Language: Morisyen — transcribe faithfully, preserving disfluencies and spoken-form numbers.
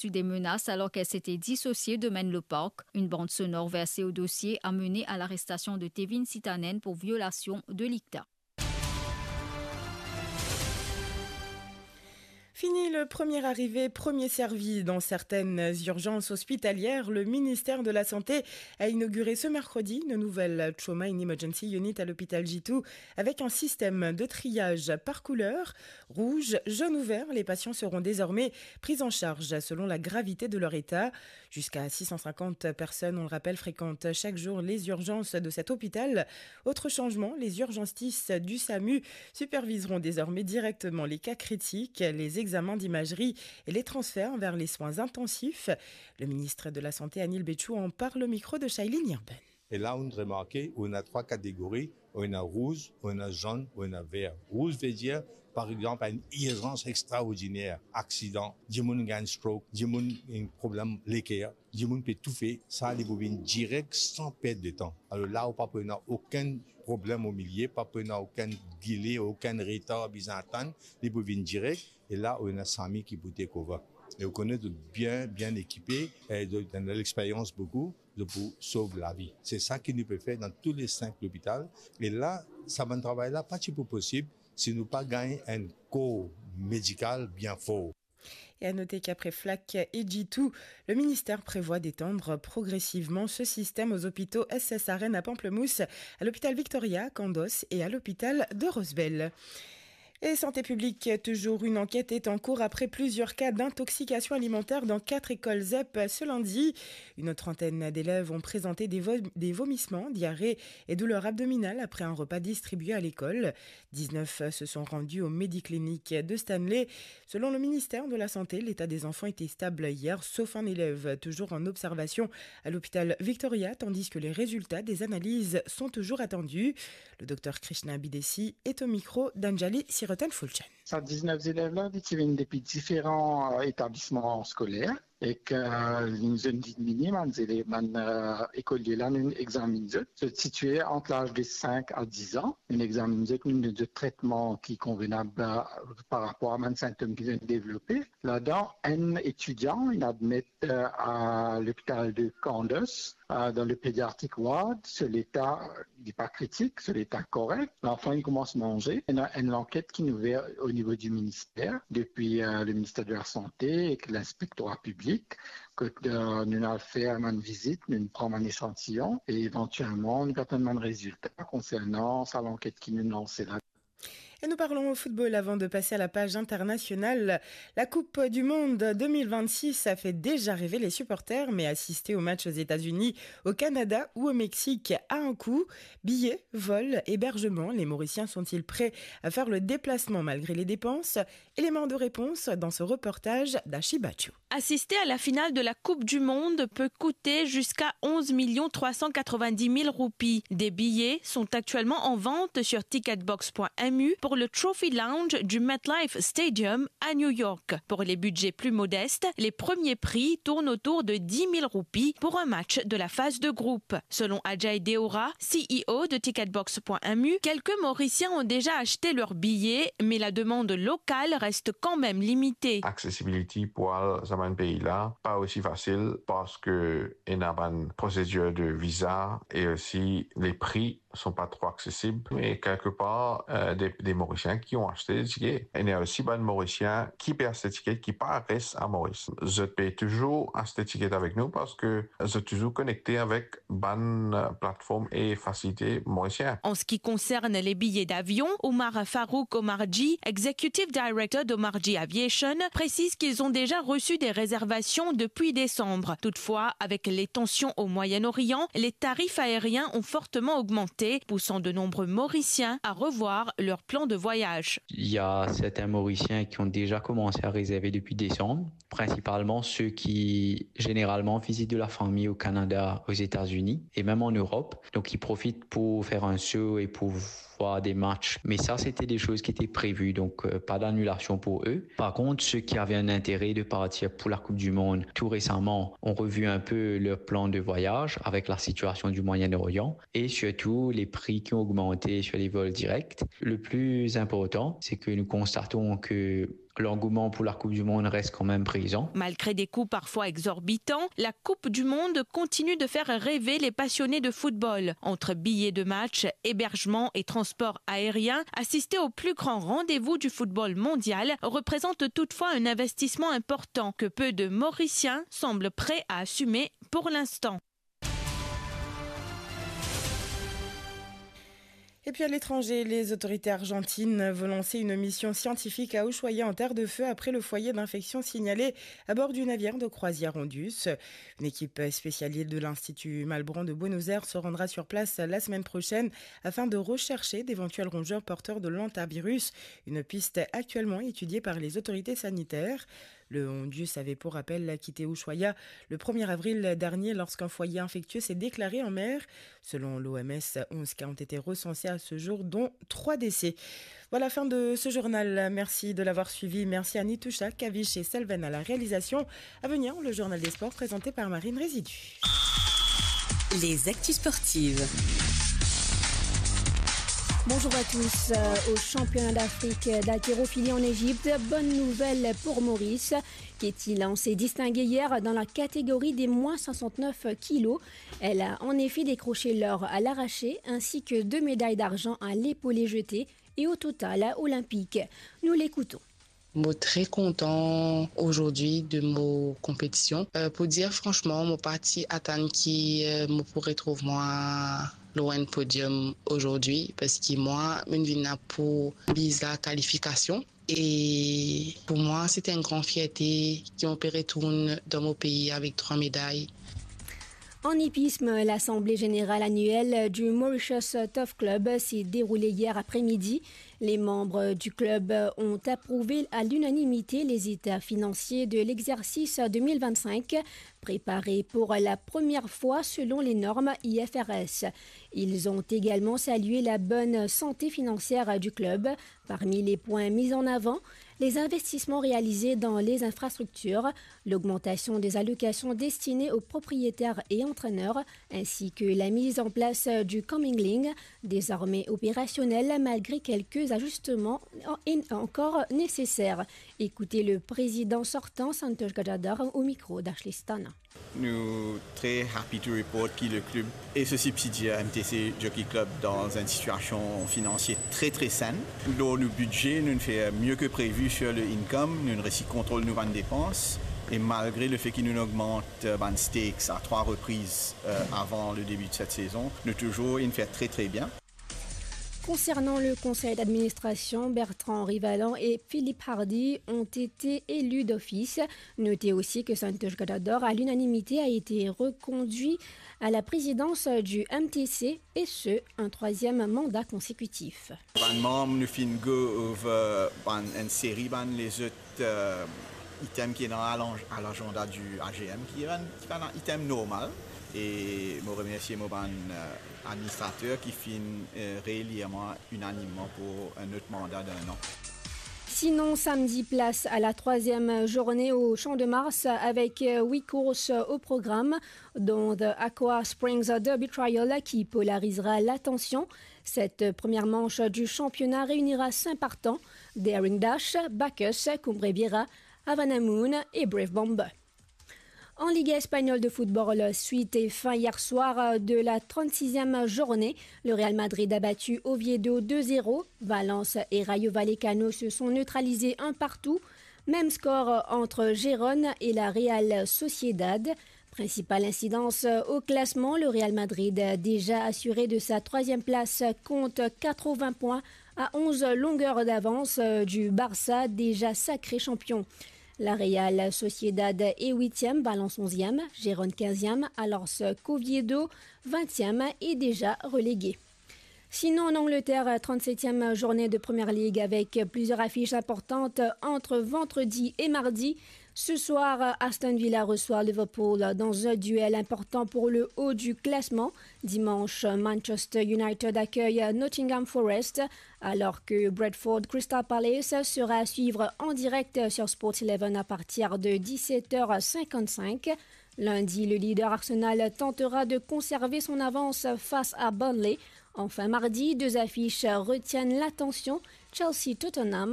Sous des menaces alors qu'elle s'était dissociée de Menlo Park. Une bande sonore versée au dossier a mené à l'arrestation de Tevin Sitanen pour violation de l'ICTA. Fini le premier arrivé, premier servi dans certaines urgences hospitalières. Le ministère de la Santé a inauguré ce mercredi une nouvelle Trauma and Emergency Unit à l'hôpital G two avec un système de triage par couleur. Rouge, jaune ou vert, les patients seront désormais pris en charge selon la gravité de leur état. Jusqu'à six cent cinquante personnes, on le rappelle, fréquentent chaque jour les urgences de cet hôpital. Autre changement, les urgentistes du samu superviseront désormais directement les cas critiques, les examens d'imagerie et les transferts vers les soins intensifs. Le ministre de la Santé, Anil Bechou, en parle au micro de Shailene Irben. E la, ou remarke, ou ena trwa kategori, ou ena rouz, ou ena zonn, ou ena ver. Rouz ve dir, par exanp, enn irzans extraordiner, aksidan, dimoun gagn stroke, dimoun ena problem leker, dimoun pe toufe, sa li pou vinn direk san pert de tan. Alor la, ou pa pou ena okenn problem o milie, pa pou ena okenn dile, okenn retar bizin atann, li pou vinn direk, e la, ou ena SAMU ki pou take over. E ou kone zot bien, bien ekipe, e zot ena lexperyans boukou, zot pou sov lavi. Se sa ki nou pe fer dan tou le sink lopital. E la, sa bann travay la pa ti pou posib si nou pa gagn enn kor medikal bien for. Et à noter qu'après Flacq et G two, le ministère prévoit d'étendre progressivement ce système aux hôpitaux S S R N à Pamplemousse, à l'hôpital Victoria, Candos et à l'hôpital de Rosebel. Et santé publique, toujours, une enquête est en cours après plusieurs cas d'intoxication alimentaire dans quatre écoles zep ce lundi. Une trentaine d'élèves ont présenté des vo-, des vomissements, diarrhée et douleurs abdominales après un repas distribué à l'école. Dix-neuf se sont rendus aux Médicliniques de Stanley. Selon le ministère de la Santé, l'état des enfants était stable hier, sauf un élève toujours en observation à l'hôpital Victoria, tandis que les résultats des analyses sont toujours attendus. Le docteur Krishna Bidesi est au micro d'Anjali Sirotan Fulchen. Sa diznef zelev la, li ti vinn depi diferan, euh, etablisman skoler, ek, euh, nou zot diminye bann zelev, bann, euh, ekolie la, nou examinn zot. Zot sitiye ant laz de sink a diz an. Nou examinn zot, nou donn zot tretman ki konvenab, euh, par rapor a bann sintom ki zot devlope. Ladan, enn etidian, inn admet, euh, a lopital de Candos, euh, dan le pediatric ward, so leta, li pa kritik, so leta korek. Lanfan, li koumans manze. Ena enn lanket ki ouver o nivo di minister, depi, euh, le ministère de la Santé ek Linspektora Piblik, kot, euh, nou al fer bann vizit, nou pran bann echantiyon, e evantielman, nou atann bann rezilta konsernan sa lanket ki nou lanse la. Et nous parlons au football avant de passer à la page internationale. La Coupe du Monde deux mille vingt-six a fait déjà rêver les supporters, mais assister au match aux États-Unis, au Canada ou au Mexique a un coût. Billets, vols, hébergement, les Mauriciens sont-ils prêts à faire le déplacement malgré les dépenses ? Élément de réponse dans ce reportage d'Ashi Bachou. Assister à la finale de la Coupe du Monde peut coûter jusqu'à onze millions trois cent quatre-vingt-dix mille roupies. Des billets sont actuellement en vente sur ticketbox point M U pour le Trophy Lounge du MetLife Stadium à New York. Pour les budgets plus modestes, les premiers prix tournent autour de dix mille roupies pour un match de la phase de groupe. Selon Ajay Deora, C E O de ticketbox point M U, quelques Mauriciens ont déjà acheté leurs billets, mais la demande locale reste quand même limitée. Accessibility pou al sa bann pei la, pa osi fasil, parski ena bann prosedir de viza e osi les prix sont pas trop accessibles. Mais quelque part, euh, des, des Mauriciens qui ont acheté des tickets. Ena osi bann Morisien ki pe aste tiket ki pa res a Moris. Zot pe touzour aste tiket avek nou parski zot touzour konekte avek bann, euh, platform e fasilite morisien. En ce qui concerne les billets d'avion, Omar Farouk Omarjee, executive director d'Omarjee Aviation, précise qu'ils ont déjà reçu des réservations depuis décembre. Toutefois, avec les tensions au Moyen-Orient, les tarifs aériens ont fortement augmenté, poussant de nombreux Mauriciens à revoir leur plan de voyage. Il y a certains Mauriciens qui ont déjà commencé à réserver depuis décembre, principalement ceux qui généralement visitent de la famille au Canada, aux États-Unis et même en Europe. Donc ils profitent pour faire un saut et pour voir des matchs. Mais ça, c'était des choses qui étaient prévues, donc, euh, pas d'annulation pour eux. Par contre, ceux qui avaient un intérêt de partir pour la Coupe du Monde tout récemment ont revu un peu leur plan de voyage avec la situation du Moyen-Orient et surtout les prix qui ont augmenté sur les vols directs. Le plus important, c'est que nous constatons que l'engouement pour la Coupe du Monde reste quand même présent. Malgré des coûts parfois exorbitants, la Coupe du Monde continue de faire rêver les passionnés de football. Entre billets de match, hébergement et transport aérien, assister au plus grand rendez-vous du football mondial représente toutefois un investissement important que peu de Mauriciens semblent prêts à assumer pour l'instant. Et puis à l'étranger, les autorités argentines vont lancer une mission scientifique à Ushuaïa en terre de feu après le foyer d'infection signalé à bord du navire de croisière Ondius. Une équipe spécialisée de l'Institut Malbranche de Buenos Aires se rendra sur place la semaine prochaine afin de rechercher d'éventuels rongeurs porteurs de l'hantavirus, une piste actuellement étudiée par les autorités sanitaires. Le Ondius avait, pour rappel, quitté Ushuaïa le premier avril dernier lorsqu'un foyer infectieux s'est déclaré en mer. Selon l'O M S, onze cas ont été recensés à ce jour, dont trois décès. Voilà, fin de ce journal. Merci de l'avoir suivi. Merci à Nitousha, Kavish et Selven à la réalisation. À venir, le journal des sports présenté par Marine Résidu. Les actus sportives. Bonjour à tous. Euh, au championnat d'Afrique d'haltérophilie en Égypte, bonne nouvelle pour Maurice. Ketty Lan s'est distinguée hier dans la catégorie des moins soixante-neuf kilos. Elle a en effet décroché l'or à l'arraché ainsi que deux médailles d'argent à l'épaulé jeté et au total olympique. Nous l'écoutons. Mo tre kontan ozordi de mo konpetision. Euh, pou dir fransman, mo pa ti atann ki, euh, mo pou retrouv mwa lor enn podium ozordi, parski mwa, mo'nn vinn la pou viz la kalifikasion. E pou mwa, se enn gran fierte ki mo pe retourn dan mo pei avek trwa meday. En hippisme, l'assemblée générale annuelle du Mauritius Turf Club s'est déroulée hier après-midi. Les membres du club ont approuvé à l'unanimité les états financiers de l'exercice deux mille vingt-cinq, préparé pour la première fois selon les normes I F R S. Ils ont également salué la bonne santé financière du club. Parmi les points mis en avant, les investissements réalisés dans les infrastructures, l'augmentation des allocations destinées aux propriétaires et entraîneurs, ainsi que la mise en place du Coming Link, désormais opérationnel malgré quelques ajustements en-, encore nécessaires. Écoutez le président sortant, Santosh Gajadhar, au micro d'Ashley Stana. Nou tre happy to report ki le klub e so sibsidier M T C Jockey Club dan enn sitiasion finansie tre, tre senn. Lor nou bidze, nou fer mie ke previ sur le income, nou resi kontrol nou bann depans, e malgre le fe ki nou ogmant, euh, bann stakes a trwa repriz, euh, avan le debi de set sezon, nou touzour inn fer tre, tre bien. Concernant le conseil d'administration, Bertrand Rivalan et Philippe Hardy ont été élus d'office. Notez aussi que Santosh Gajadhar, à l'unanimité, a été reconduit à la présidence du M T C, et ce, un troisième mandat consécutif. Bann manm, nou finn go over bann, enn seri bann lezot, euh, item ki ena a lan-, a laganda du A G M, ki enn, ki bann item normal. E mo remersie mo bann, euh, administrater ki finn, euh, reelir mwa inanimman pou enn lot manda d'enn an. Sinon, samedi, place à la troisième journée au Champ de Mars avec, euh, huit courses au programme, dont The Aqua Springs Derby Trial qui polarisera l'attention. Cette première manche du championnat réunira cinq partants, Daring Dash, Bacchus, Cumbre Vieja, Havana Moon et Brave Bomber. En Ligue espagnole de football, suite et fin hier soir de la trente-sixième journée, le Real Madrid a battu Oviedo deux zéro. Valence et Rayo Vallecano se sont neutralisés un partout. Même score entre Gérone et la Real Sociedad. Principale incidence au classement, le Real Madrid, déjà assuré de sa troisième place, compte quatre-vingts points à onze longueurs d'avance du Barça, déjà sacré champion. La Real Sociedad est huitième, Valence onzième, Gérone quinzième, alors qu'Oviedo vingtième est déjà relégué. Sinon, en Angleterre, trente-septième journée de Première Ligue avec plusieurs affiches importantes entre vendredi et mardi. Ce soir, Aston Villa reçoit Liverpool dans un duel important pour le haut du classement. Dimanche, Manchester United accueille Nottingham Forest, alors que Brentford Crystal Palace sera à suivre en direct sur Sports Eleven à partir de dix-sept heures cinquante-cinq. Lundi, le leader Arsenal tentera de conserver son avance face à Burnley Enfin, mardi, deux affiches retiennent l'attention, Chelsea-Tottenham